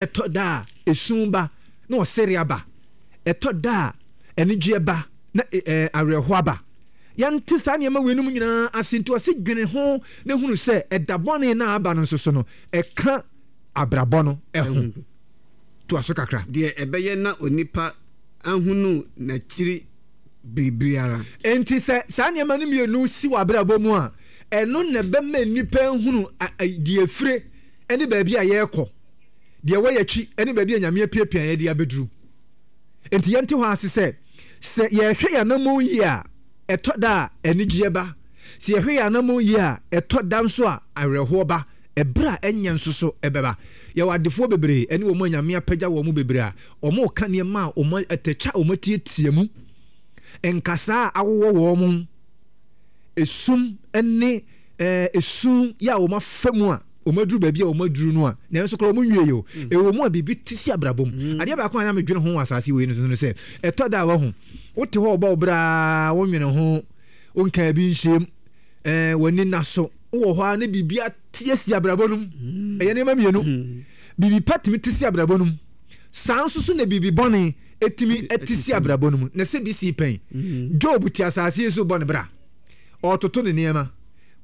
Ɛtɔ da a, esu ba na ɔsere aba. Ɛtɔ da a, anigyeɛ ba na awerɛhoɔ aba. Yɛnte saa nneɛma weinom nyinaa ase nti ɔse dwene ho na hunu sɛ ɛda bɔne no a aba no nso so no, ɛka abrabɔ no ho. Toa so kakra. Deɛ ɛbɛyɛ na onipa ahunu n'akyiri biribiara. Enti sɛ saa nneɛma no mmienu si w'abrabɔ mu a, ɛno na ɛbɛma nnipa ahunu deɛ ɛfire ne baabi a yɛrekɔ, deɛ ɛwɔ yɛn akyi ne baabi a Nyame apiapia yɛn de abɛduru. Enti yɛnte hɔ ase sɛ, sɛ yɛhwɛ yɛn anammɔn yie a, ɛtɔ da a anigyeɛ ba. Sɛ yɛhwɛ yɛn anammɔn yie a, ɛtɔ da nso a awerɛhoɔ ba, ɛberɛ a ɛnyɛ nso so ɛbɛba. Yɛwɔ adefoɔ bebree ne wɔn a Nyame apagya wɔn bebree a wɔreka nneɛma a wɔn atɛkyɛ a wɔatiatia mu, nkasaa a awowɔ wɔn, esum ne esu yɛ a wɔafa mu a wɔaduru baabi a wɔaduru no a, nanso koraa wɔnwiei o. Ɛwɔ mu a biribi te si abrabɔ mu. Adeɛ baako a na medwene ho wɔ asase wei no so ne sɛ, ɛtɔ da a wahu, wote hɔ ɔbɔ wo bra, wonwene ho, wonkaa bi nhyɛm, ɛɛ w'ani nna so, wowɔ hɔ a ne biribi ate asi abrabɔ no mu. Ɛyɛ nneɛma mmienu. Biribi pa tumi te si abrabɔ no mu. Saa nso so na biribi bɔne tumi te si abrabɔ no mu. Na sɛ bi sii pɛn. Job te asase yi so bɔ ne bra. Ɔretoto ne nneɛma,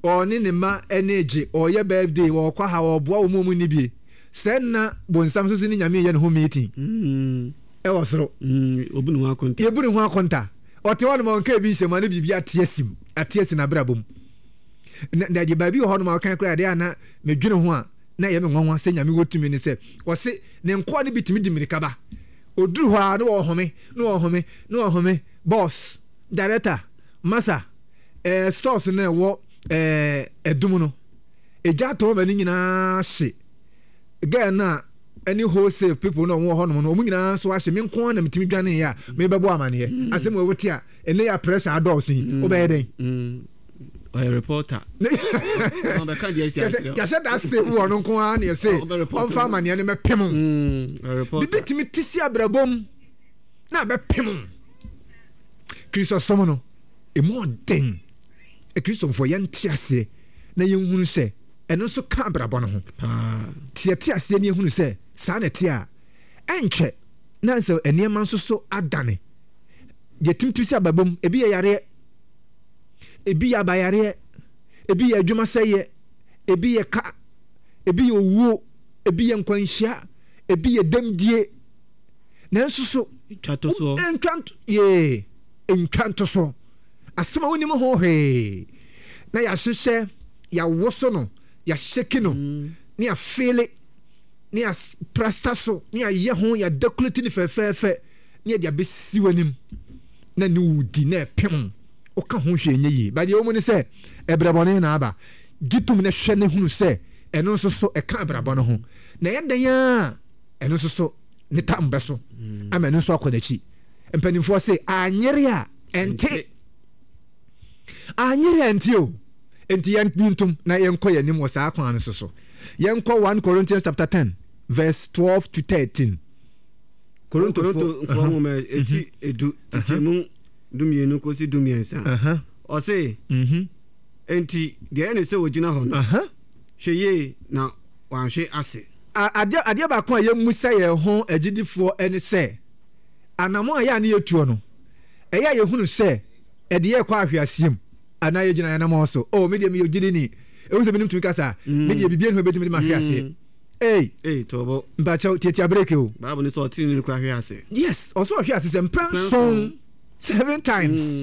ɔne ne mma ani regye, ɔreyɛ birthday, ɔrekɔ ha, ɔreboa wɔn a wɔnni bie. Sɛ nna bonsam nso so ne Nyame reyɛ ne ho meeting wɔ soro. Obu ne ho akonta. Yɛbu ne ho akonta. Ɔte hɔ nom a ɔnka ebi nhyɛ mu a ne biribi ate asi mu, ate asi n'abrabɔ mu. Na na deɛ baabi wɔ hɔ nom a ɔka koraa adeɛ a na medwene ho a na ɛyɛ me nwanwa sɛ Nyame wɔ tumi ne sɛ ɔse ne nkoa no bi tumi di mmirika ba. Ɔduru hɔ a na ɔrehome, na ɔrehome, na ɔrehome, boss, director, Masa, eh, stores no ɛwɔ eh, ɛdum no, egya atɔ ma ne nyinaa hye. Girl no a ɛne wholesale people no a wɔwɔ hɔnom no, wɔn nyinaa nso ahye. Me nko ara na metumi dwaneeɛ a mebɛbɔ amaneɛ. Mm. Asɛm wɔ wote a, ɛnɛ yɛ pressure adɔɔso yi, mm. wobɛyɛ dɛn? Mm. Ɔyɛ reporter. Yɛhyɛ da se wɔ no nko ara na yɛse ɔmfa amaneɛ no mɛpem. Bibi tumi te si abrabɔ mu na abɛpem. Kristosom no, emu ɔden. Akristofoɔ yɛnte aseɛ na yɛnhunu sɛ ɛno nso ka abrabɔ no ho. Te yɛte aseɛ na yɛhunu sɛ saa na ɛte a, ɛnkyɛ na sɛ nneɛma nso so adane. Deɛ timtim sɛ abrabɔ mu, ebi yɛ yareɛ, ebi yɛ abayareɛ, ebi yɛ adwuma sɛeɛ, ebi yɛ ka, ebi yɛ owuo, ebi yɛ nkwanhyia, ebi yɛ dɛmdie. Nanso so Ntwa to soɔ. Ntwa nto yee ntwa nto soɔ. Asɛm a wonim ho hwee na yɛahyehyɛ, yɛawoso no, yɛahyɛki no, ne yɛafeele, ne yɛaprasta so, ne yɛayɛ ho, yɛadakulati no fɛfɛɛfɛ, ne yɛde abɛsi w'anim na ne wo di na ɛpem woka ho hwee nyɛ yie. Ba deɛ ɛwɔ mu ne sɛ ɛbrɛ bɔne na aba. Gye tom na hwɛ na hunu sɛ ɛno nso so ɛka abrabɔ no ho. Na ɛyɛ dɛn ara a ɛno nso so ne tam bɛso ama ɛno nso akɔ n'akyi. Mpanimfoɔ se anyere a ɛnte. Anyere a ɛnte o. Enti yɛn ntom na yɛnkɔ yɛn anim wɔ saa kwan no so so. Yɛnkɔ 1 Corinthians chapter 10 verse 12 to 13. Korintofoɔ nwoma eti edu kyekyɛmu dumienu kɔsi dumiɛnsa. Ɔse, enti deɛ ɛyɛ ne sɛ ɔgyina hɔ no, hwɛ yie na wanhwe ase. Adeɛ adeɛ baako a yɛmmisa yɛn ho agyidifoɔ ne sɛ, anammɔn a ɛyɛ a ne yɛtuo no, ɛyɛ a yɛhunu sɛ ɛde yɛn rekɔ ahweaseɛ mu anaa yɛgyina yɛn anammɔn so? Oh, me deɛ meyɛ ogyidini. Ɛwom sɛ binom tumi ka saa, me deɛ biribiara nni hɔ a ɛbɛtumi de me ahwe aseɛ. Ei! Ei, tobo. Mpakyɛw, tiatia break o. Bible no sɛ ɔteneneeni koraa hwe ase. Yes, ɔsɛ ɔhwe ase sɛ mprɛ nson, seven times.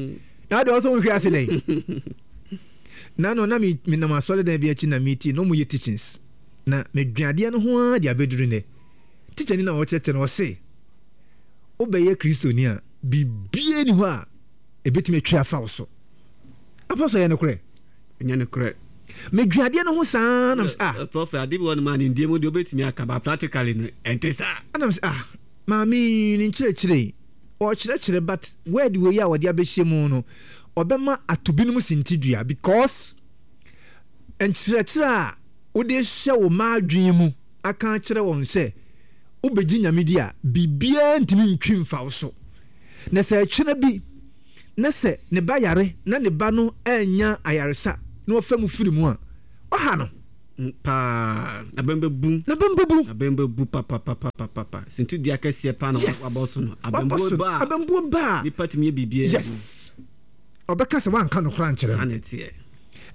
Na adeɛ ɔsɛ ɔnhwe ase dɛn? Na no na me menam asɔredan bi akyi na metie na wɔyɛ teachings. Na medwen adeɛ no ho ara de abɛduru nnɛ. Tikyani no a ɔkyerɛkyerɛ no, ɔse, Wobɛyɛ Kristoni a, biribiara nni hɔ a ɛbɛtumi atwi afa wo so. Apostle, ɛyɛ nokorɛ? Ɛnyɛ nokorɛ. Medwen adeɛ no ho saa na mesɛ, ah. Prophet, ade bi wɔ nom a nimdeɛ mu deɛ wobɛtumi aka, but practically no, ɛnte saa. Ɛna mesɛ, ah, maame yi ne nkyerɛkyerɛ yi, ɔrekyerɛkyerɛ but word wei a ɔde abɛhyɛ mu no, ɔbɛma ato binom sintidua because nkyerɛkyerɛ a wode rehyɛ wo mma adwene mu aka akyerɛ wɔn sɛ wobɛgye Nyame di a, biribiara ntumi ntwi mfa wo so. Na sɛ ɛkyena bi na sɛ ne ba yare na ne ba no annya ayaresa na ɔfa mu firi mu a, ɔha no. Paa. N'abam bɛbu. N'abam bɛbu. N'abam bɛbu papapapapapa. Sintidua kɛseɛ paa na wabɔ so no. Abambuo ba a. Abambuo ba a. Nipa tumi yɛ biribiara. Yes. Ɔbɛka sɛ woanka nokorɛ ankyerɛ no. Saa na ɛteɛ.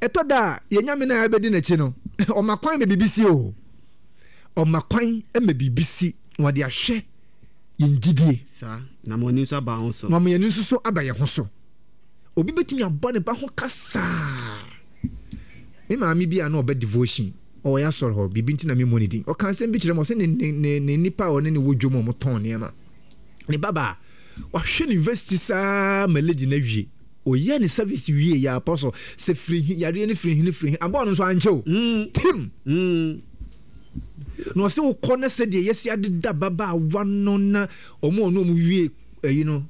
Ɛtɔ da a, yɛn Nyame no a yɛbɛdi n'akyi no, ɔma kwan ma biribi si o. Ɔma kwan ma biribi si na ɔde ahwɛ yɛn gyidie. Saa, na ama ani nso aba ho so. Na ama yɛn ani nso so aba yɛn ho so. Obi bɛtumi abɔ ne ba ho ka saa. Me maame bi a na ɔba devotion, ɔwɔ yɛn asɔre hɔ, biribi nti na memmɔ ne din. Ɔka asɛm bi kyerɛ me, ɔsɛ ne, ne, ne, ne nipa a ɔne ne wɔ dwom a wɔtɔn nneɛma. Ne babaa, wahwɛ no university saa ma lady no awie. Ɔyɛɛ ne service wie yɛ apostle sɛ firi he, yareɛ no firi he ne firi he, abɔɔ no nso ankyɛ o. Tim! Na ɔsɛ wokɔ na sɛdeɛ yɛsi adeda babaawa no na wɔn a ɔne wɔn wie ayi no,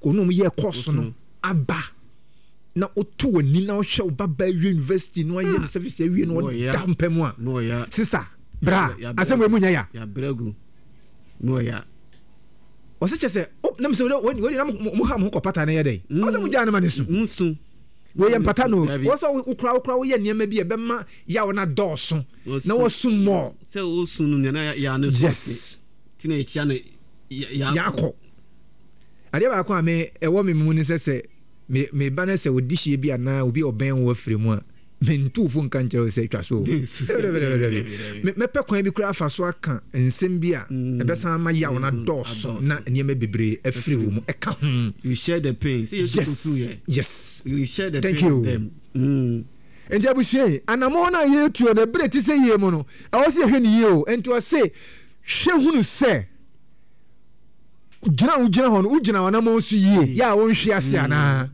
ɔne wɔn yɛɛ course no aba na woto w'ani na wohwɛ wo babaa wie university na wayɛ ne service awie na ɔda mpa mu a, sister, bra, asɛm wei mu nyɛ ya. Ɔsɛ kyɛ sɛ o nam sɛ wei wei na mo ha mo ho kɔ pata na yɛ dɛ. Ɔsɛ mo gyaa no ma ne su. Mo su. Wei yɛ mpata no. Ɔsɛ wokora wokora woyɛ nneɛma bi a ɛbɛma yaw no adɔɔso na wɔsu mmɔɔ. Sɛ wosu no nea na yaw no Yes. Ti na yɛkyia no yaakɔ. Adeɛ baako a me ɛwɔ me mu ne sɛ sɛ me me ba no sɛ ɔdi hyia bi anaa obi a ɔbɛn wo afiri mu a Mentu wo fo nka nkyerɛ wo sɛ twa so o. Dabi-dabi-dabi. Mɛpɛ kwan bi koraa afa so aka nsɛm bi a ɛbɛsan ama yaw no adɔɔso na nneɛma bebree afiri wo mu. Ɛka ho. You share the pain. Sɛ Yesu Yes, kɔ yɛ. yes. You share the Thank pain you. with them. Mm. Enti abusua yi, anammɔn no a yɛretuo no, ɛberɛ a ɛte sɛ yie mu no, ɛwɔ sɛ yɛhwɛ no yie o. Enti ɔse, hwɛ hunu sɛ gyina a wogyina hɔ no, wogyina w'anammɔn so yie, yɛ a wonhwe ase anaa?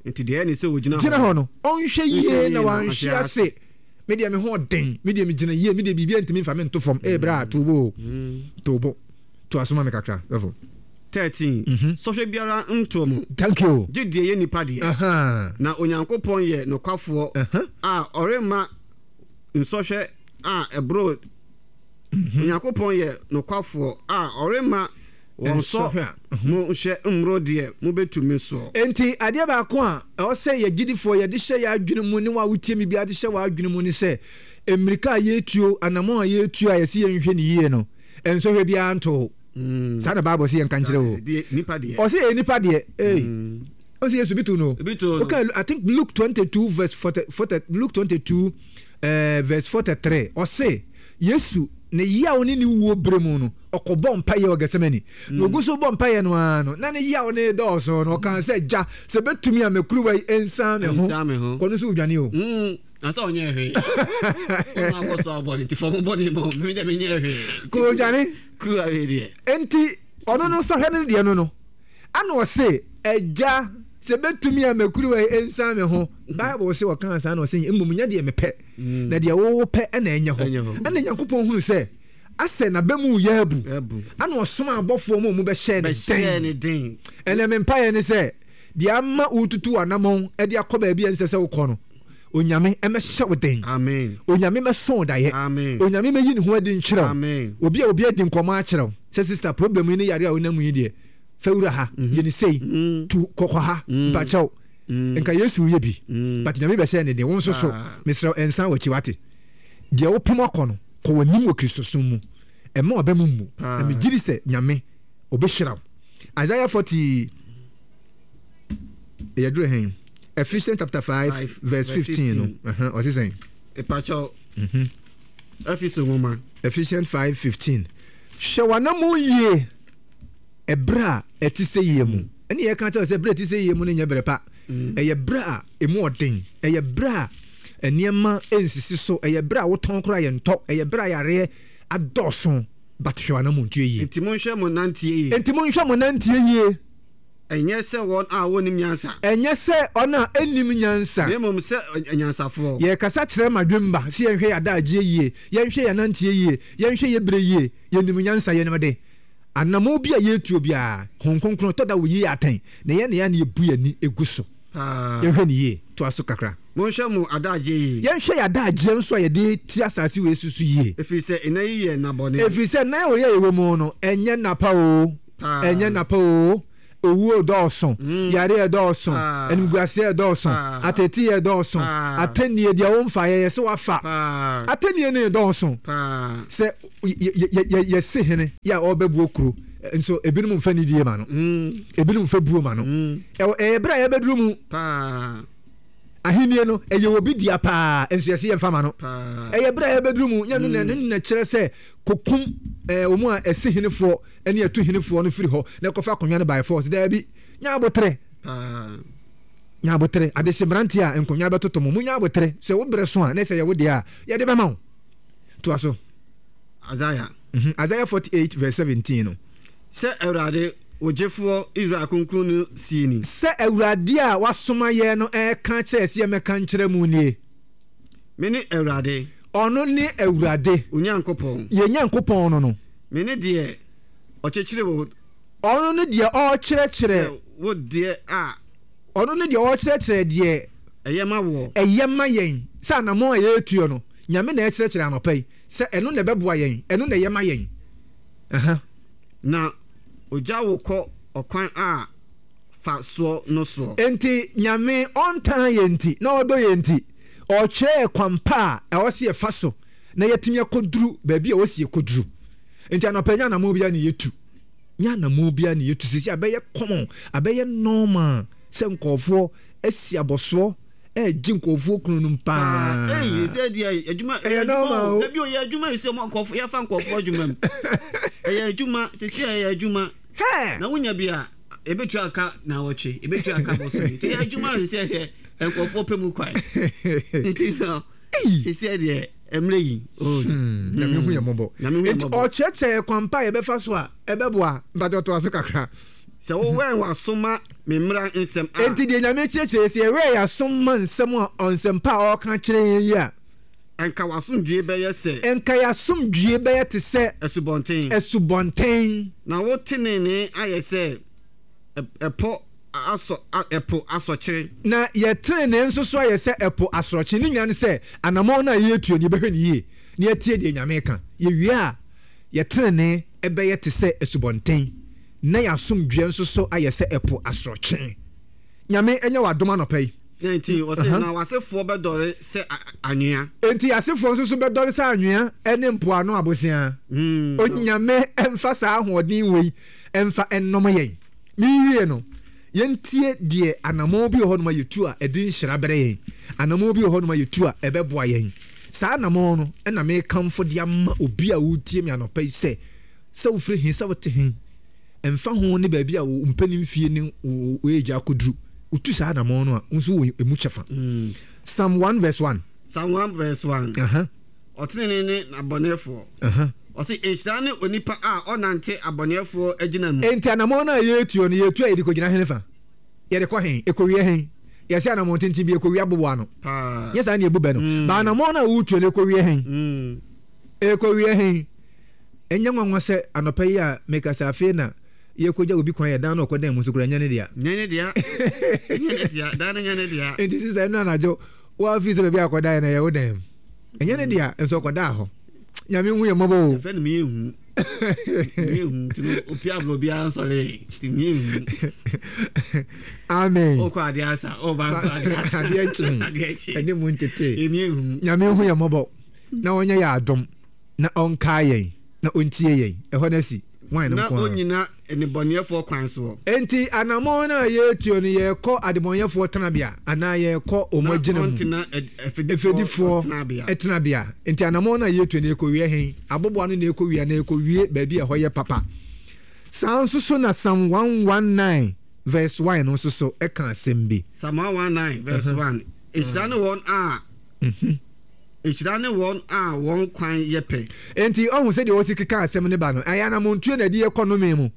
Enti deɛ ɛne sɛ ɔgyina hɔ Gyina hɔ no, ɔnhwɛ yie na na wanhwe wanhwe ase. ase. Me deɛ me ho ɔden, me deɛ megyina yie, me deɛ biribiara ntumi mfa me nto fam. Ee bra, to wo bo o, to wo bo. Toa so ma me kakra, sɔfo. 13, Sɔhwɛ biara ntoo mo, Thank you. gye deɛ ɛyɛ nnipa deɛ. Na Onyankopɔn yɛ nokwafoɔ a ɔremma nsɔhwɛ a ɛboro Onyankopɔn yɛ nokwafoɔ a ɔremma Wɔnsɔ mo nhwɛ mmoro deɛ mobɛtumi soɔ. Enti adeɛ baako a ɛwɔ sɛ yɛ gyidifoɔ yɛde hyɛ yɛn adwene mu ne wo a wotie me biara de hyɛ w'adwene mu ne sɛ, mmirika a yɛretuo, anammɔn a yɛretuo a yɛse yɛnhwɛ no yie no, nsɔhwɛ biara nto wo. Saa na Bible se yɛnka nkyerɛ wo. Ɔse ɛyɛ nipa deɛ. Ei. Ɔse Yesu bi too no. Woka I think Luke 22 verse 40, 40 Luke 22 eh, verse 43 ɔse Yesu ne yaw ne ne wuo berɛ mu no ɔkɔbɔɔ mpaeɛ wɔ Gethsemane. Na ɔgu so rebɔ mpaeɛ no ara no, na ne yaw no redɔɔso no, ɔkaa sɛ, Agya, sɛ ɛbɛtumi a, ma kuruwa yi nsan me ho. Nsan me ho. Kɔ no so wodwane o. Mm, na sɛ ɔnyɛɛ hwee. Wɔn a wɔsɔ abɔ no nti fam bɔne ma wɔn, me deɛ menyɛɛ hwee. Kɔ odwane. Kuruwa wei deɛ. Enti ɔno no sɔhwɛ no deɛ no no, ana ɔse, Agya, sɛ ɛbɛtumi a, ma kuruwa yi nsan me ho. Bible se ɔkaa saa na ɔse, Mmom nyɛ deɛ mepɛ, na deɛ wo wopɛ na ɛnyɛ hɔ. Ɛna Nyankopɔn hunu sɛ Asɛ n'aba mu reyɛ abu. Ɛna ɔsomaa abɔfoɔ ma wɔbɛhyɛɛ no den. Ɛnɛ me mpaeɛ ne sɛ, deɛ ama woretutu w'anamɔn de akɔ baabi a ɛnsɛ sɛ wokɔ no, Onyame mmɛhyɛ wo den. Onyame mmɛso wo daeɛ. Onyame mmɛyi ne ho adi nkyerɛ wo. Obi a obi adi nkɔmmɔ akyerɛ wo sɛ sister problem yi ne yareɛ a wonam mu yi deɛ, fa wura ha, yɛ no sei, tu kɔ kɔ ha, mpakyɛw. Nka Yesu reyɛ bi, but Nyame bɛhyɛɛ no den. Wo nso so, mesrɛ wo, nsan w'akyi, wate? Deɛ wopem akɔ no, kɔ w'anim wɔ Kristosom mu. Mma w'aba mu mmu. Na megye di sɛ Nyame, Ɔbɛhyira wo. Isaiah 40, yɛduru hɛn? Ephesians chapter 5 verse 15 no, ɔse sɛn? Epakyɛw, Efeso nwoma. Ephesians 5 15. Hwɛ w'anammɔn yie ɛberɛ a ɛte sɛ yie mu. Ɛne yɛka kyerɛ sɛ berɛ a ɛte sɛ yie mu no nyɛ berɛ pa. Ɛyɛ berɛ a ɛmu ɔden. Ɛyɛ berɛ a nneɛma nsisi so. Ɛyɛ berɛ a wotɔn koraa yɛntɔ. Ɛyɛ berɛ a yareɛ adɔɔso. But hwɛ w'anammɔntuo yie. Enti monhwɛ mo nanteɛ yie. Enti monhwɛ mo nanteɛ yie. Ɛnyɛ sɛ wɔn a wɔnnim nyansa. Ɛnyɛ sɛ wɔn a ɛnnim nyansa. Na mmom sɛ anyansafoɔ. Yɛrekasa kyerɛ mmadwemma sɛ yɛnhwɛ yɛn adagyeɛ yie, yɛnhwɛ yɛn ananteɛ yie, yɛnhwɛ yɛn berɛ yie. Yɛnim nyansa, yɛnim de. Anammɔn bi a yɛretuo biara, Honhom Kronkron tɔ da wɔyi yɛn atɛn, na yɛn na yɛn a na yɛbu yɛn ani gu so. Yɛnhwɛ no yie. Toa so kakra. Monhwɛ mo adagyeɛ yie. Yɛnhwɛ yɛn adagyeɛ nso a yɛde te asase wei so so yie. Ɛfiri sɛ nna yi yɛ nna bɔne. Ɛfiri sɛ nna wei a yɛwɔ mu no, ɛnyɛ nna pa oo, ɛnyɛ nna pa oo. Owuo redɔɔso, yareɛ redɔɔso, animguaseɛ redɔɔso, ateeteeɛ redɔɔso, atɛnnie, deɛ womfaeɛ yɛ sɛ woafa. Atɛnnie no redɔɔso. Sɛ yɛse hene yɛ a ɔrebɛboɔ kuro nso ebinom mfa nidie ma no, ebinom mfa buo ma no. Ɛyɛ berɛ a yɛbɛduru mu. Ahennie no, ɛyɛ obi dea paa, nso yɛse yɛmfa ma no. Ɛyɛ berɛ a yɛbɛduru mu, nyɛ no na ɛno na ɛkyerɛ sɛ kɔkum wɔn a ɛsi henefoɔ ne ɛtu henefoɔ no firi hɔ na ɛkɔfa akonnwa no by force. Daabi, nya aboterɛ. Nya aboterɛ. Adehye mmeranteɛ a nkonnwa bɛtotɔ mo, monya aboterɛ. Sɛ wo berɛ so a, na sɛ ɛyɛ wo deɛ a, yɛde bɛma wo. Toa so. Isaiah. Isaiah 48 verse 17 no. Sɛ Awurade, wo Gyefoɔ, Israel Kronkronni no seɛ ni. Sɛ Awurade a wasoma yɛn no reka akyerɛ yɛn sɛ yɛmmɛka nkyerɛ mo nie. Mene Awurade. Ɔno ne Awurade. Wo Nyankopɔn. Yɛn Nyankopɔn no no. Mene deɛ ɔkyekyere wo. Ɔno ne deɛ ɔrekyerɛkyerɛ. Wo deɛ a. Ɔno ne deɛ ɔrekyerɛkyerɛ deɛ. Ɛyɛ ma woɔ. Ɛyɛ ma yɛn. Sɛ anammɔn a yɛretuo no, Nyame na ɛrekyerɛkyerɛ anɔpa yi, sɛ ɛno na ɛbɛboa yɛn, ɛno na ɛyɛ ma yɛn. Aha. Na ɔgya wo kɔ ɔkwan a fa soɔ no soɔ. Enti Nyame ɔntan yɛn nti, na ɔdɔ yɛn nti, ɔrekyerɛ yɛn kwan pa a ɛwɔ sɛ yɛfa so na yɛatumi akɔduru baabi a ɛwɔ sɛ yɛkɔduru. Enti anɔpa yi, nyɛ anammɔn biara na yɛtu. Nyɛ anammɔn biara na yɛtu. Seesei abɛyɛ common, abɛyɛ normal sɛ nkurɔfoɔ asi abɔsoɔ regye nkurɔfoɔ kununom paa. Ei, sɛ deɛ adwuma ɛyɛ normal o. Dabi o, yɛ adwuma yi sɛ nkurɔfoɔ yɛfa nkurɔfoɔ adwuma mu. Ɛyɛ adwuma, seesei ɛyɛ adwuma. Hɛ! Na wonya bi a, ebetua aka naawɔtwe, ebetua aka bosome. Nti ɛyɛ adwuma a seesei ɛyɛ nkurɔfoɔ pɛ mu kwan. Nti no, seesei deɛ mmerɛ yi. Oh. Hmm, Nyame hu yɛn mmɔbɔ. Nyame hu yɛn Nti mmɔbɔ. ɔkyerɛkyerɛ yɛn kwan pa a yɛbɛfa so a ɛbɛboa. Mpakyɛ ɔtoa so kakra. Sɛ wowɛn w'aso ma me mmara nsɛm a. Enti deɛ Nyame kyerɛkyerɛ yɛ, sɛ yɛwɛn yɛn aso ma nsɛm a ɔnsɛmpa a ɔreka kyerɛ yɛn yi a. Anka w'asomdwoeɛ bɛyɛ sɛ. Anka y'asomdwoeɛ bɛyɛ te sɛ. Asubɔnten. Asubɔnten. Na wo tenenee ayɛ sɛ ɛpɔ asɔ ɛpo asɔkyere. Na yɛ tenenee nso so ayɛ sɛ ɛpo asorɔkye. Ne nyinaa ne sɛ, anamɔn no a yɛretuo no, yɛbɛhwɛ no yie na yɛatie deɛ Nyame reka. Yɛwie a, yɛ tenenee bɛyɛ te sɛ asubɔnten, na y'asomdwoeɛ nso so ayɛ sɛ ɛpo asorɔkye. Nyame nyɛ wo adom anɔpa yi. 19, ɔse, Na w'asefoɔ bɛdɔre sɛ anwea. Enti y'asefoɔ nso so bɛdɔre sɛ anwea ne mpoano aboseaa. Onyame mfa saa ahoɔden wei mfa nnom yɛn. Merewie no, yɛntie deɛ anamɔn bi wɔ hɔnom a yɛtu a ɛde nhyira brɛ yɛn. Anamɔn bi wɔ hɔnom a yɛtu a ɛbɛboa yɛn. Saa anamɔn no na merekamfo de ama obi a woretie me anɔpa yi sɛ, sɛ wofiri he, sɛ wote he, Ɛmfa ho ne baabi a wo mpanin mfie ne wo age akɔduru, wotu saa anammɔn no a, wo nso wowɔ emu kyɛfa. Psalm 1 verse 1. Psalm 1 verse 1. Ɔtenenee ne n'abɔneɛfoɔ. Ɔse, Nhyira ne onipa a ɔnnante abɔneɛfoɔ agyina mu. Enti anammɔn no a yɛretuo no, yɛretu a yɛde kɔgyina henefa? Yɛde kɔ he? Ɛkɔwie he? Yɛse anammɔn tenten bi, ɛkɔwie aboboano. Nyɛ saa ne yɛbu bɛ no. Ba anammɔn no a woretuo no, ɛkɔwie he? Ɛkɔwie he? Ɛnyɛ nwanwa sɛ anɔpa yi a mekasa afei na yɛrekogya obi kwan yɛ dan no ɔkɔdan mu nso koraa ɛnyɛ ne dea. Nyɛ ne dea. Nyɛ ne dea. Dan no nyɛ ne dea. Enti sista ɛno anadwo woafi sɛ baabi a akɔdaeɛ no ɛyɛ wo dan mu. Ɛnyɛ ne dea nso ɔkɔdaa hɔ. Nyame hu yɛn mmɔbɔ o. Yɛfrɛ no meyɛ hu. Meyɛ hu nti no opi aborɔ biara nsɔre nti meyɛ hu. Amen. Okɔ adeɛ asa ɔba nkɔ adeɛ asa. Adeɛ kye. Adeɛ kye. Ɛne mu ntete. Meyɛ hu. Nyame hu yɛn mmɔbɔ na ɔnyɛ yɛn adom. Na ɔnkae yɛn, na ɔntie yɛn. Ɛhɔ no asi, hwan no Na nko ara? ɔnnyina nnebɔneyɛfoɔ kwan soɔ. Enti anammɔn no a yɛretuo no, yɛrekɔ adebɔneyɛfoɔ tenabea, anaa yɛrekɔ wɔn Na agyina mu? ɔntena afɛdifoɔ Efɛdifoɔ tenabea. tenabea. Enti anammɔn no a yɛretuo no, yɛrekɔwie he? Aboboano na yɛrekɔwie anaa yɛrekɔwie baabi a ɛhɔ yɛ papa? Saa nso so na Psalm 119 verse 1 no nso so ka asɛm bi. Psalm 119 verse 1, Nhyira ne wɔn a. Nhyira ne wɔn a wɔn kwan yɛ pɛ. Enti, ɔhu sɛdeɛ wɔsi keka asɛm no ba no, ɛyɛ anamontuo na ɛde yɛ kɔ nnome mu,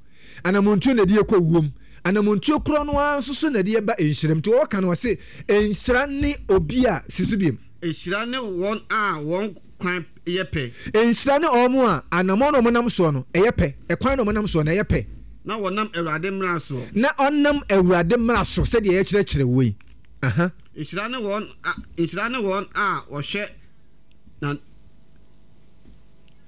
anamontuo na ɛde yɛ kɔ owuo mu, anamontuo korɔ no ara nso so na ɛde yɛ ba nhyira mu. Nti ɔreka no, ɔse, Nhyira ne obi a, si so biom. Nhyira ne wɔn a wɔn kwan yɛ pɛ. Nhyira ne wɔn a anamɔn a wɔnam soɔ no, ɛyɛ pɛ, ɛkwan a wɔnam soɔ no, ɛyɛ pɛ. Na wɔnam Awurade mmara soɔ. Na ɔnam Awurade mmara so, sɛdeɛ yɛkyerɛkyerɛ wo yi. Aha. Nhyira ne wɔn a, nhyira ne wɔn a wɔhwɛ na,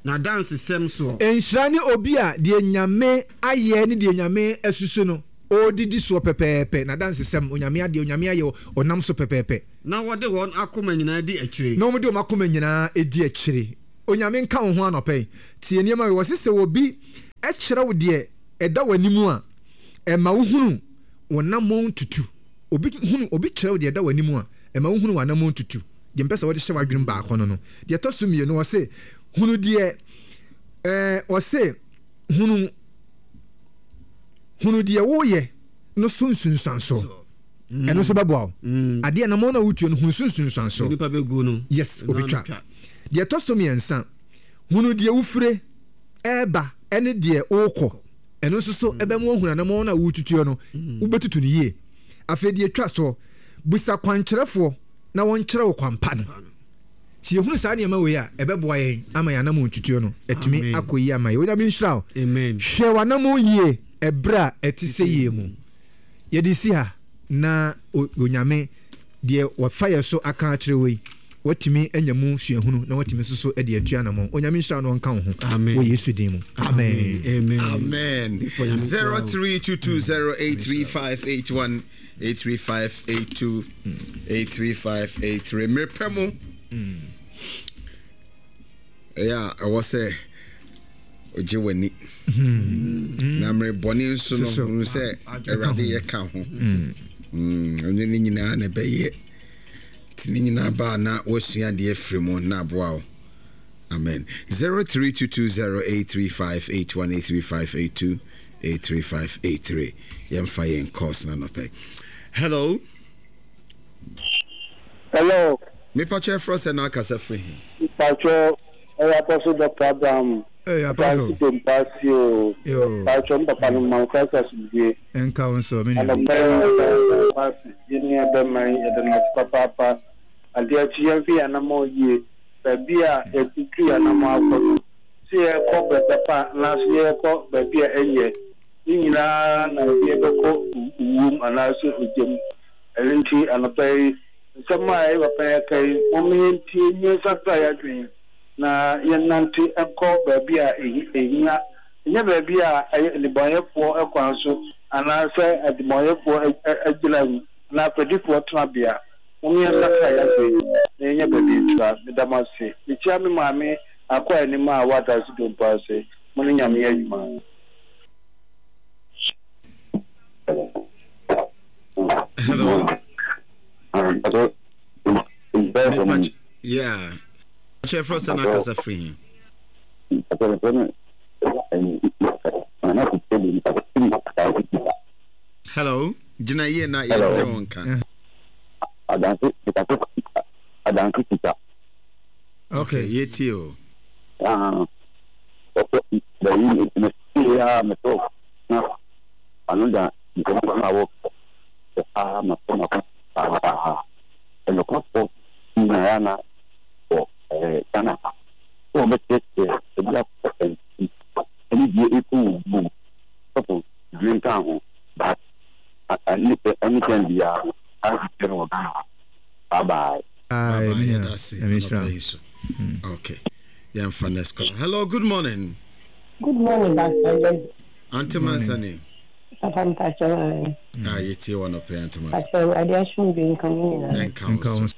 n'adansesɛm soɔ. Nhyira ne obi a deɛ Nyame ayɛ ne deɛ Nyame asusu no, ɔredidi soɔ pɛpɛɛpɛ, n'adansesɛm, Onyame adeɛ, Onyame ayɛ, ɔnam so pɛpɛɛpɛ. Na wɔde wɔn akoma nyinaa di akyire. Na wɔde wɔn akoma nyinaa di akyire. Onyame nka wo ho anɔpa yi. Tie nneɛma wei, wɔse sɛ obi kyerɛ wo deɛ ɛda w'anim a, ɛma wohunu wo namɔn tutu. Obi hunu, obi kyerɛ wo deɛ ɛda w'anim a, ɛma wohunu w'anamɔn tutu. Deɛ mepɛ sɛ wode hyɛ w'adwenem baako no no. Deɛ ɛtɔ so mmienu, ɔse, hunu deɛ, ɛɛ, ɔse, hunu, hunu deɛ woyɛ no so nsunsuansoɔ. Ɛno nso bɛboa wo. Adeɛ anamɔn no a wotuo no, hunu so nsunsuansoɔ. Nipa bɛgu no. Yes, obɛtwa. Deɛ ɛtɔ so mmiɛnsa, hunu deɛ wofire ɛreba ɛne deɛ wokɔ. Ɛno nso so ɛbɛma woahunu anamɔn no a woretutuo no, wobɛtutu no yie. Afei deɛ ɛtwa soɔ, bisa kwankyerɛfoɔ na wɔnkyerɛ wo kwan pa no. Sɛ yɛhunu saa nneɛma wei a, ɛbɛboa yɛn ama yɛn anammɔn tutuo no atumi akɔ yie ama yɛn. Onyame nhyira wo. Hwɛ w'anammɔn yie ɛberɛ a ɛte sɛ yie mu. Yɛde si ha na Onyame deɛ wafa yɛn so aka akyerɛ wo yi, watumi anya mu suahunu na watumi nso so de atu anammɔn. Onyame nhyira wo na ɔnka wo ho wɔ Yesu din mu. Amen. Amen. 0322083581 83582 83583 mmerɛ pɛ mu ɛyɛ a ɛwɔ sɛ ogye w'ani na mmerɛ bɔne nso no hunu sɛ awurade yɛ ka ho ɛne ne nyinaa na ɛbɛyɛ nti ne nyinaa baa na wasua adeɛ afiri mu na aboa wo. Amen. 0322083581 83582 83583 yɛmfa yɛn calls na nɔpɛ. Hello. Hello. Mepakyɛ ɛfrɛ sɛ na akasa firi he? Mepakyɛ ɛyɛ Apostle Doctor Abraham. Hey, Apostle. Apostle Dompa o. Yo. Pakyɛ m papa no ma Christ asomdwie. Ɛnka wo nso me nua. Anɔpa yi ɔda yɛn nua bɛma yi yɛda no ase papaapa. Adeɛ akyi yɛmfa yɛn anammɔn yie. Baabi a yɛatutu yɛn anammɔn akɔ no, sɛ yɛrekɔ baabi pa anaasɛ yɛrekɔ baabi a ɛnyɛ, ne nyinaa na ɛde yɛn bɛkɔ owuo mu anaasɛ ogya mu. Ɛno nti, anɔpa yi, nsɛm a yɛn papa yi aka yi, momma yɛntie na yɛnsakra yɛn adwene na yɛnnante nkɔ baabi a ɛhia, ɛnyɛ baabi a ɛyɛ nnebɔneyɛfoɔ kwan so anaasɛ adebɔneyɛfoɔ agyina mu anaa fɛdifoɔ tenabea. Mom yɛnsakra yɛadwen na yɛnya baabi ntra. Meda mo ase. Mekyia me maame Akua Anim a ɔwɔ Adanse Dompo ase. Mo ne Nyame yɛ adwuma. Hello. Yeah. Kyerɛ frɛ sɛ na akasa firi he. Hello. Gyina yie na yɛnte wo nka. Adanse kita adanse kita. Okay, yɛtie o. Ah, ɔkɔ bɛyi me fie a me so na ano da nkɔmɔ na wɔ paa ma so ma paa ɛnɔkɔfo nyinaa na wɔ ɛɛ Ghana ha sɛ wɔbɛkyerɛkyerɛ ebi akɔ ɛnti ɛne deɛ ɛkɔ wɔ mu sɔfo dwe nka ho but ɛne tɛn biara no ahwehwɛ no wɔ Ghana ha. Bye bye. Bye bye yɛda ase anɔpa yi so. Okay yɛmfa next caller. Hello good morning. Good morning Pastor Jesse. Auntie Mansani. Papa mpakyɛ ae. Ah yɛtie wɔ anɔpa yi Auntie Mansani. Pakyɛ Awurade asomdwe nka mo nyinaa. Ɛnka wo so.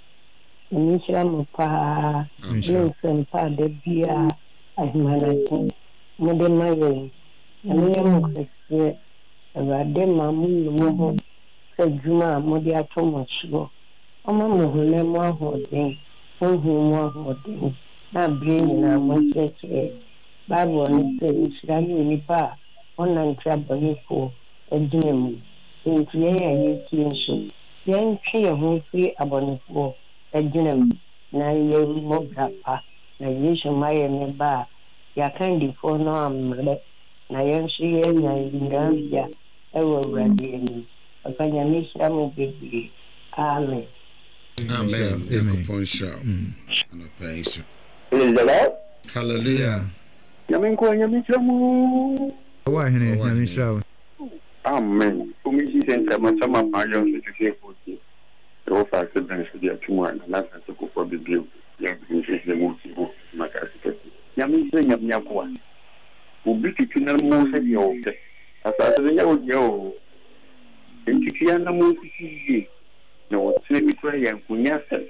Nyame nhyira mo paa ne nsɛmpa a da biara ahemanakye mode ma yɛn. Nyame nyɛ mo kɛseɛ. Awurade ma mo nu mo ho sɛ adwuma a mode ato mo soɔ. Ɔma mo honam mu ahoɔden, honhom mu ahoɔden, na berɛ nyinaa monkyerɛkyerɛ Bible no sɛ, Nhyira ne onipa a ɔnnante abɔnefoɔ agyina mu. Enti yɛn a yɛretie nso, yɛntwe yɛn ho mfiri abɔnefoɔ agyina mu na yɛmmɔ bra pa, na Yesu mmaeɛ no ba a, yɛn akandifoɔ no ammrɛ, na yɛn nso yɛanya nyinabea wɔ Awurade anim. Papa Nyame nhyira mo bebree. Amen. Amen Nyankopɔn nhyira wo anɔpa yi nso. Praise the Lord. Hallelujah. Nyame nkoa Nyame nhyira mo. Ɔwɔ ahene Nyame nhyira wo. Amen Community Center Masama Paa Johnson Sese Kofi Ɛwɔ faase bɛn so de ato mu a Nana Asante Kufuor abɛbue yɛ nhyehyɛɛ mu wɔ Kumasi kɛse. Nyame nhyira Nyame akoa. Obi tutu n'anamɔn sɛdeɛ ɔpɛ. Asase no nyɛ wo dea oo. Yɛntutu yɛn anammɔn nsisi yie, na ɔkyena bi koraa yɛankonya asɛm.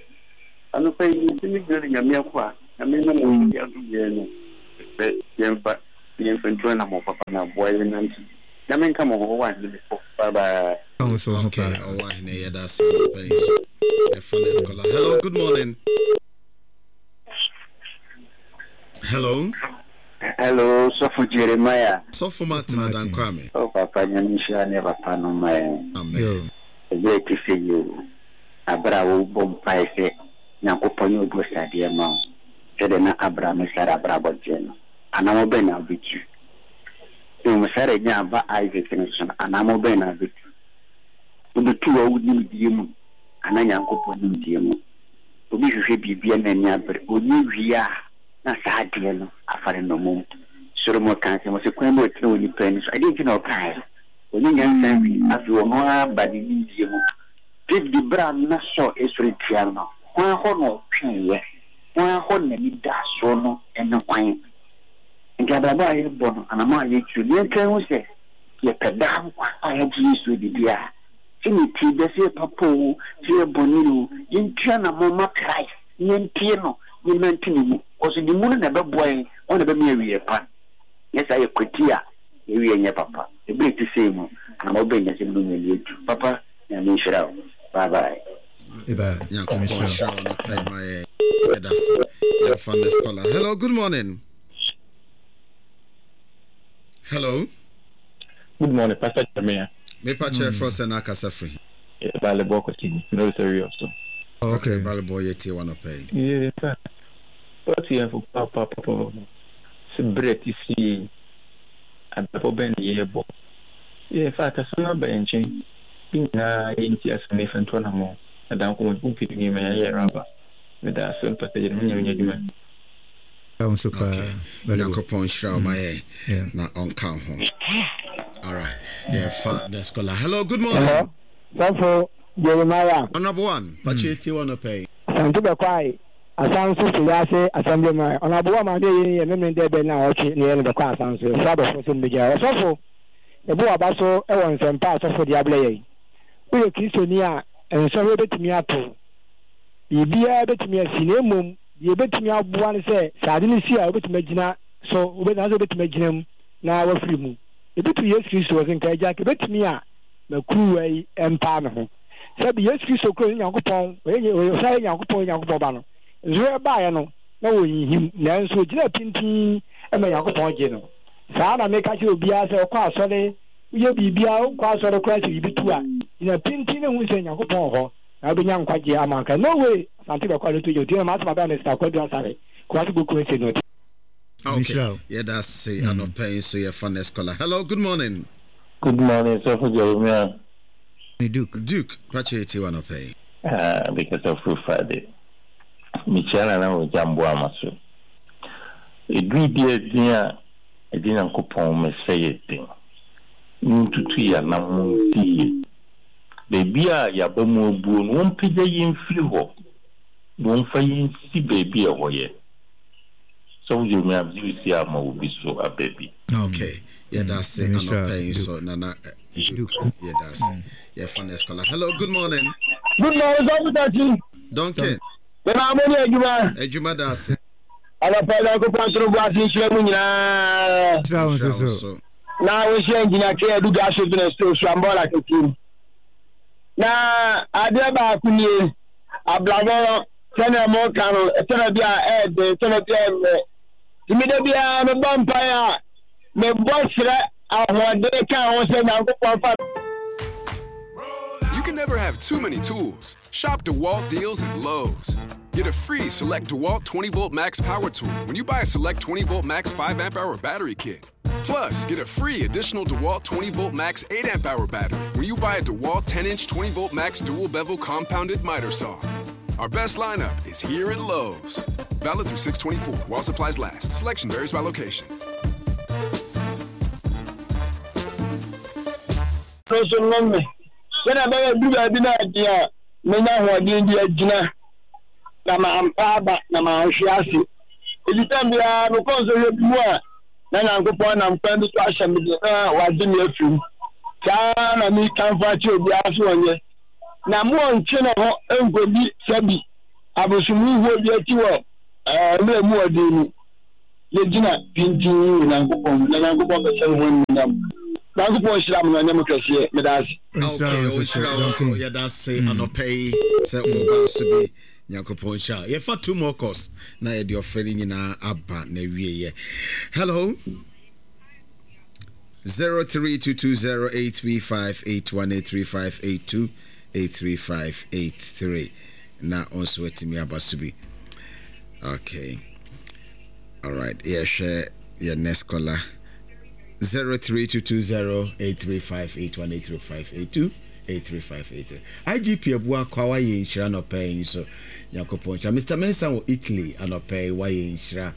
Anɔpa yi, mese me gyina ne Nyame akoa, Nyame nam wo so de adom yɛn no, mesrɛ yɛmfa na yɛmfa ntu anammɔn papa na aboa yɛn nante. Nyame nka mo ho, Ɔwɔ Ahene mekɔ, bye bye. Okay, Ɔwɔ Ahene yɛda ase anɔpa yi nso. Yɛfa next caller. Hello, good morning. Hello. Hello, Sɔfo Jeremiah. Sɔfo Martin Adankwame. Oh papa, Nyame nhyira ne papa no ma yɛn. Amen. Ɛberɛ a ɛte sɛ yi o, aberɛ a wobɔ mpaeɛ sɛ Nyankopɔn nyɛ obosadeɛ mma wo, sɛdeɛ na Abraham ne Sarah abrabɔ teɛ no, anammɔn bɛn na wobɛtu? Mmom Sarah nyaa ba Isaac no so no, anammɔn bɛn na wobɛtu? Wobɛtu wɔ wo nimdeɛ mu anaa Nyankopɔn nimdeɛ mu? Obi hwehwɛ biribi a n'ani abere, ɔnya wie a, na saa adeɛ no afa no nnommum. Solomon kaa asɛm, ɔse, Kwan bi a ɔtene wɔ nipa ani so. Ɛdeɛn nti na ɔkaeɛ? Ɔnya nyansa wie, afei ɔno ara ba ne nimdeɛ mu. David berɛ a na Saul resɔre tia no no, hwan hɔ na ɔtweeɛ? Hwan hɔ na n'anidasoɔ no ne hwan? Nti abrabɔ a yɛbɔ no, anammɔn a yɛtu no, yɛnka nhu sɛ yɛpɛ daa nkwa a yɛagye Yesu adi deɛ a, sɛdeɛ ɛteɛ biara, sɛ yɛ papa oo, sɛ yɛ bɔne oo, yɛntu anammɔn mma Christ na yɛntie no, na yɛnnante ne mu. Cause ne mu no na ɛbɛboa yɛn, ɔno na ɛbɛma yɛn awieɛ pa. Nyɛ saa yɛkwati a, yɛn awieɛ nyɛ papa. Ɛberɛ a ɛte sei mu, anammɔn bɛn na ɛsɛ me ne wo mmienu yɛtu? Papa, Nyame nhyira wo. Bye bye. Nyankopɔn nhyira wo anɔpa yi ma yɛn. Yɛda ase. Yɛmfa next caller. Hello, good morning. Hello. Good morning, Pastor Jeremiah. Mepa kyerɛ frɛ sɛ na akasa firi. Balebɔ Kwasi, no sɛ wi so. Okay, Balebɔ yɛ tie wanɔpa yi. Yeah, sir. What you have pa pa pa pa. Se bread ti si abrabɔ bɛn na yɛbɔ. Yeah, in fact, asɛm aba yɛn nkyɛn. Yɛn nyinaa yɛnti asɛm no yɛfa ntu anammɔn. Na da nkɔmmɔ nti pii nneɛma yɛayɛ raba. Meda ase Pastor Jeremiah Nyame nyɛ adwuma. Okay. Nyankopɔn nhyira wo ma yɛn na ɔnka wo ho. All right. Yɛfa the scholar. Hello, good morning. Hello. Sɔfo Jeremiah. Honorable one, pakyɛ tie wɔ nɔpɛ yi. Asante Bɛkwae, Asanso Fiase Assemblyman. Honorable one maame eyi yɛ memene dɛ bɛ na ɔtwe ne yɛ no bɛkɔ Asanso. Yɛsrɛ abɔfo sɛ mbɛgyina. Ɔsɔfo, yɛbɔ w'aba so wɔ nsɛmpa a sɔfo de abrɛ yɛn. Woyɛ Kristoni a, nsɔhwɛ betumi ato wo. Biribiara betumi asi, na mmom deɛ ebetumi aboa ne sɛ, sɛ ade no si a, wobetumi agyina so, anaasɛ wobetumi agyina mu na woafiri mu. Ebi to Yesu Kristo, ɔse, Nka Agya, nka ebetumi a ma kuruwa yi mpaa me ho. Sɛbe Yesu Kristo kura ɔne Nyankopɔn, ɔyɛ, ɔsan yɛ Nyankopɔn, ɔyɛ Nyankopɔn Ba no. Nsɔhwɛ baeɛ no, na ɔnhinhim, nanso ɔgyinaa pintinn ma Nyankopɔn gyee no. Saa ara na meka kyerɛ obiara sɛ ɔkɔ asɔre, woyɛ biribiara, wonkɔ asɔre koraa sɛ biribi to a, gyina pintinn na hu sɛ Nyankopɔn wɔ hɔ, na wobɛnya nkwagyeɛ ama wo kra. No way! Asante bɛkɔ ano to gya otie na m'asɛm abɛn Mister Kwadu Asare, Kumasi Boku Ese no. Okay, yɛda ase anɔpa yi nso yɛfa next caller. Hello, good morning. Good morning, Sɔfo Jeremiah. Ne Duke. Duke, pakyɛ yɛtie wo anɔpa yi. Ah, mekasa firi Friday. Mekyia Nana Ogya Mboama so. Ɛduru bi a din a ɛgye Nyankopɔn mesrɛ yɛ den. Montutu yɛn anammɔn nsi yie. Baabi a yɛaba mu abuo no, wɔmpagya yɛn mfiri hɔ na wɔmfa yɛn nsi baabi a ɛhɔ yɛ. Sɔfo Jeremiah megye wo sie ama obi so aba bi. Okay, yɛda ase anɔpa yi nso Nana Duke yɛda ase. Yɛfa next caller. Hello, good morning. Good morning, Sɔfo Takyi. Duncan. Yɛma mo ne adwuma. Adwuma da ase. Anɔpa yi Nyankopɔn nto no bo ase nhyira mo nyinaa. Nhyira wo nso so. Na wɔhyia Engineer K. Adu Gas Business Osuambɔla kɛseɛ mu. Na adeɛ baako nie, abrabɔ no sɛnea moka no, ɛtɔda bi a ɛyɛ den, ɛtɔda bi a ɛmmerɛ. Nti me da biara mebɔ mpaeɛ a, mebɔ srɛ ahoɔden ka ho sɛ Nyankopɔn fa You can never have too many tools. Shop DeWalt deals at Lowe's. Get a free Select DeWalt 20 volt max power tool when you buy a Select 20 volt max 5 amp hour battery kit. Plus, get a free additional DeWalt 20 volt max 8 amp hour battery when you buy a DeWalt 10 inch 20 volt max dual bevel compounded miter saw. Our best lineup is here at Lowe's. Valid through 624 while supplies last. Selection varies by location. No nso nnome me, sɛnea ɛbɛyɛ a ɛduru baabi na ɛden a, menya ahoɔden de agyina, na mampa aba na manhwe ase. Enti tɛm biara mekɔ nsɔhwɛ bi mu a, na Nyankopɔn nam kwan bi so ahyɛ me den na wagye me afiri mu. Saa ara na mekamfo akyerɛ obiara sɛ ɔnyɛ. Na montwe ne ho nkɔdi sɛbi abosomhuhuo bi akyi wɔ mmerɛ mu ɔden mu. Yɛgyina pintinn wɔ Nyankopɔn mu, na Nyankopɔn bɛhyɛ ne ho animuonyam. Nyankopɔn nhyira mo na ɔnyɛ mo kɛseɛ. Meda ase. Okay, ɔnhyira wo nso. Yɛda ase anɔpa yi sɛ wobaa so bi. Nyankopɔn nhyira wo. Yɛfa two more calls na yɛde ɔfrɛ no nyinaa aba n'awieɛ. Hello. 0322083581 83582 83583 na wo nso watumi aba so bi. Okay. All right. Yɛhwɛ yɛ next caller. 0322083581 83582 83583 IGP Abua Kwa wayɛ nhyira anɔpa yi nso. Nyankopɔn nhyira. Mr. Mensah wɔ Italy anɔpa yi wayɛ nhyira.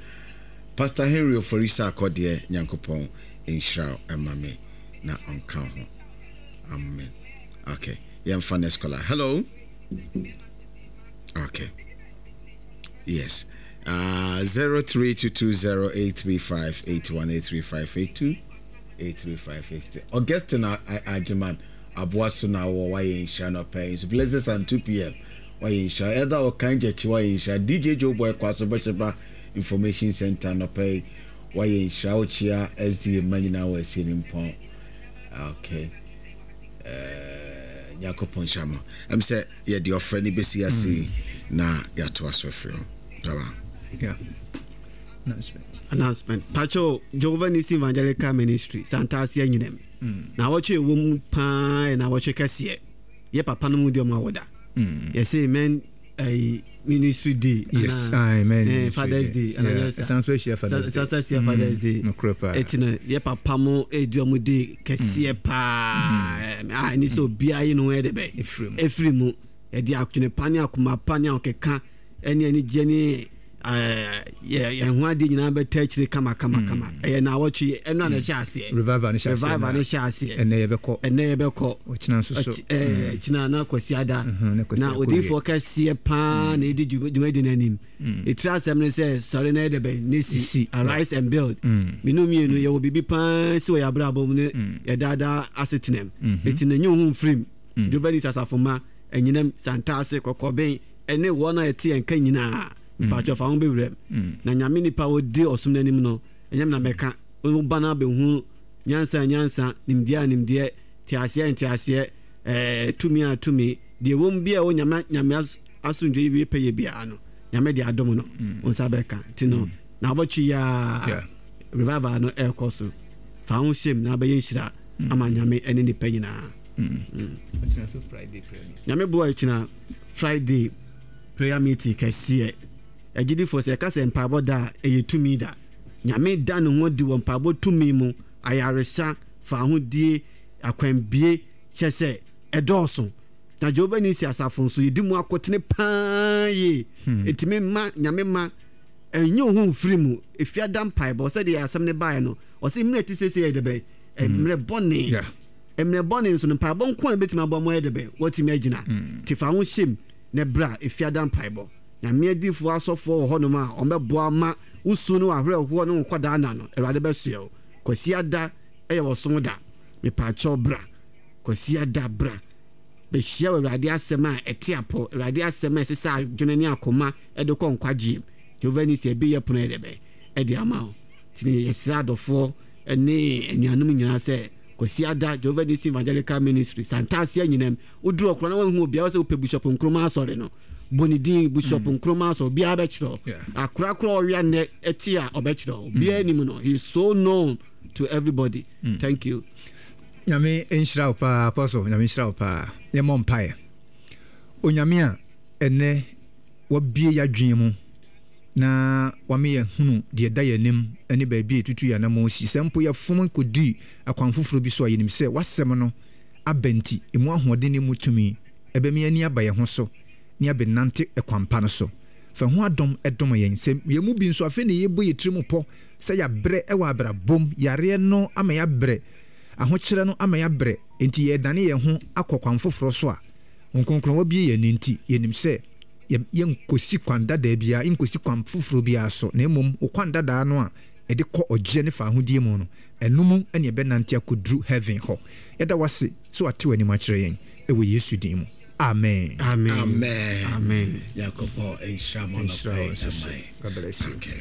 Pastor Henry Ofori Sarkor deɛ Nyankopɔn nhyira wo ɛma me na ɔnka wo ho. Amen. Okay. Yɛmfa next caller. Hello. Okay. Yes. 0322083581 83582 83583. Augustine Agyeman aboa so na wɔ wayɛ nhyira no pɛn nso. Blessed and 2 p.m. Wayɛ nhyira. Elder Okan Gyakyi wayɛ nhyira. DJ Joe Boy Kwaso Bɛhyɛba Information Center nɔpɛ yi wayɛ nhyira wokyia SDA mma nyinaa wɔ asie no mpɔn. Okay. Uh, Nyankopɔn nhyira mo. Ɛm sɛ yɛde ɔfrɛ no bɛsi ase mm. na yɛatoa so afiri hɔ. Baba. Yeah. Announcement. Announcement. Pacho, Jehovah Nisi Evangelical Ministry, Santasia Nyinam. Mm. Na wɔtwe ɛwɔ mu paa na wɔtwe kɛseɛ. Yɛ papa no mu di ɔmo awoda. Mm. Yɛse men ɛyi ministry day. Yes, aye, men eh, Father's Day. Yeah, ɛsan so ahyia Father's Day. Ɛsan so ahyia Father's Day. Nokorɛ paa. Eti no yɛ papa mo edi ɔmo day kɛseɛ paa. A ɛni sɛ obiara yi ne ho ɛde bɛ. Efiri mu. Efiri mu. Ɛde adwene pa ne akoma pa ne ahokeka ɛne anigyeɛ ne yɛ yɛn ho adeɛ nyinaa bɛta akyire kama kama kama. Ɛyɛ naawɔtwe ɛno a na ɛhyɛ aseɛ. Revival no hyɛ aseɛ. Revival no hyɛ aseɛ. Ɛnɛ yɛbɛkɔ. Ɛnɛ yɛbɛkɔ. Ɔkyena nso so. Ɛkyena na Kwasi ada. Na odiyifoɔ kɛseɛ paa na ɛdi dwumadi no anim. Ɛtiri asɛm no sɛ sɔre na yɛ dɛ bɛn na si. Arise and build. Menu mmienu yɛwɔ biribi paa si wɔ yɛn abrabɔ mu ne yɛ daadaa asetenam. Eti na nyi wo ho mfirim. Jehovah Nisi asafo mma, anyinam, Santase, Kɔkɔben, ɛne wɔn a ɛte yɛn nka nyinaa. Mpakyɛw fa ho bɛwura mu. Na Nyame nipa a ɔdi ɔsom no anim no, ɛnyɛ me na mɛka. Wo ba no abɛhu nyansa a nyansa, nimdeɛ a nimdeɛ, nteaseɛ a nteaseɛ, ɛɛ, tumi a tumi. Deɛ ɛwɔ mu biara a ɛwɔ Nyame, Nyame asomdwoeɛ wie pɛyɛ biara no, Nyame de adom no, wo nsa bɛka. Nti no, naawɔtwe yi ara, revival no ɛrekɔ so. Fa ho hyɛ mu na abɛyɛ nhyira ama Nyame ne nnipa nyinaa. Nyame boa ɛkyina Friday prayer meeting kɛseɛ. Agyidifoɔ sɛ yɛka sɛ mpaebɔ da a, ɛyɛ tumi da. Nyame da ne ho adi wɔ mpaebɔ tumi mu, ayaresa, fawohodie, akwanbie, kyerɛ sɛ ɛdɔɔso. Na Jehovah Nisi asafo nso yɛdi mu akotene paa yie. Ɛtumi ma Nyame ma ɛnyi wo ho mfiri mu. Efiada mpaebɔ sɛdeɛ asɛm no baeɛ no, ɔse mmerɛ ɛte seesei yɛ dɛbɛn? Mmerɛ bɔne. Mmerɛ bɔne nso no mpaebɔ nko ara na ɛbɛtumi aboa ma wɔayɛ dɛbɛn? Wɔatumi agyina. Nti fa wo ho hyɛ mu na bra efiada mpaebɔ. Nyame adiyifoɔ asɔfoɔ wɔ hɔnom a wɔbɛboa ma wo su ne w'awerɛhoɔ ne wo nkwadaa nna no, Awurade bɛsoɛ wo. Kwasiada yɛ ɔsom da. Mepaakyɛw bra. Kwasiada bra. Bɛhyia wɔ Awurade asɛm a ɛte apɔ, Awurade asɛm a ɛsesa adwene ne akoma de kɔ nkwagyeɛ mu. Jehovah Nisi abue yɛ pono yɛ dɛbɛn de ama wo. Nti yɛsrɛ adɔfoɔ ne anuanom nyinaa sɛ Kwasiada Jehovah Nisi Evangelical Ministry, Santase Anyinam, woduru hɔ koraa na woanhu obiara sɛ wopɛ Bishop Nkrumah asɔre no, bɔ ne din Bishop Nkrumah asɔre, obiara bɛkyerɛ wo. Akorakora a ɔwea nnɛ te a ɔbɛkyerɛ wo. Obiara nim no. He is so known to everybody. Thank you. Nyame nhyira wo paa Apostle, Nyame nhyira wo paa. Yɛmmɔ mpaeɛ. Onyame a ɛnnɛ wabue yɛadwene mu na wama yɛahunu deɛ ɛda yɛn anim ne baabi a yɛtutu yɛn anammɔn si. Sɛ mpo yɛfom kɔdi akwan foforɔ bi so a, yɛnim sɛ w'asɛm no aba nti, ɛmu ahoɔden ne ɛmu tumi bɛma yɛn ani aba yɛn ho so na yɛabɛnante kwan pa no so. Fa ho adom dom yɛn. Sɛ yɛn mu bi nso afei na yɛrebɔ yɛn tirim pɔ sɛ yɛabrɛ wɔ abrabɔ mu, yareɛ no ama yɛabrɛ, ahokyerɛ no ama yɛabrɛ, enti yɛredane yɛn ho akɔ kwan foforɔ so a, Honhom Kronkron wabue yɛn ani nti, yɛnim sɛ yɛnkɔsi kwan dadaa biara, yɛnkɔsi kwan foforɔ biara so, na mmom wo kwan dadaa no a ɛde kɔ ɔgyeɛ ne faahodie mu no, ɛno mu na yɛbɛnante akɔduru heaven hɔ. Yɛda wo ase sɛ wate w'anim akyerɛ yɛn, wɔ Yesu din mu, amen. Amen. Amen. Nyankopɔn nhyira mo Nhyira anɔpa wo yi nso so. Amen. God bless you. Okay.